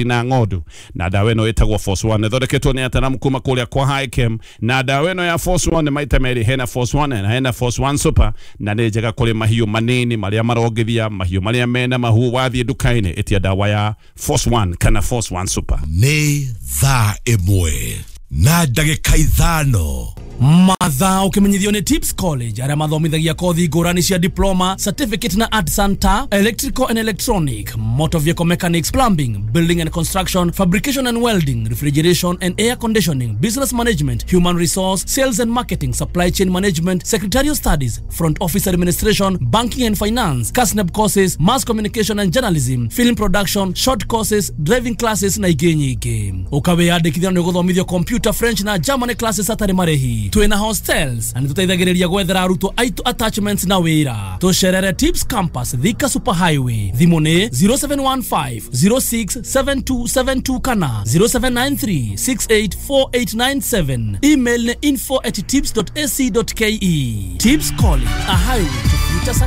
Na ng'ondu na ndawa ĩno ĩtagwo Force One, ĩthondeketwo nĩ ataramu kuma kũrĩa kwa Hichem. Na ndawa ĩno ya Force One maita merĩ, hena Force One na hena Force One Super, na nĩ njega kũrĩ mahiũ manini marĩa marongithia, mahiũ marĩa mena mahu. Wathiĩ nduka-inĩ, ĩtia ndawa ya Force One kana Force One Super. Nĩ thaa 1:05. Mathaa ũkĩmenyithio nĩ Tips College, arĩa mathomithagia kothi ngũrani cia diploma, certificate na artisan ta electrical and electronic, motor vehicle mechanics, plumbing, building and construction, fabrication and welding, refrigeration and air conditioning, business management, human resource, sales and marketing, supply chain management, secretarial studies, front office administration, banking and finance, KASNEB courses, mass communication and journalism, film production, short courses, driving classes na ingĩ nyingĩ. Ũkawĩyandĩkithia nĩ ũgũthomithio computer, French na German classes hatarĩ marĩhi. Twĩna hostels na nĩtũteithagĩrĩria gwethera arutwo aitũ attachments na wĩra. Tũcerere Tips Campus, Thika Super Highway. Thimũ nĩ 0715 067272 kana 0793 684897. Email nĩ info@tips.ac.ke. Tips College, a highway to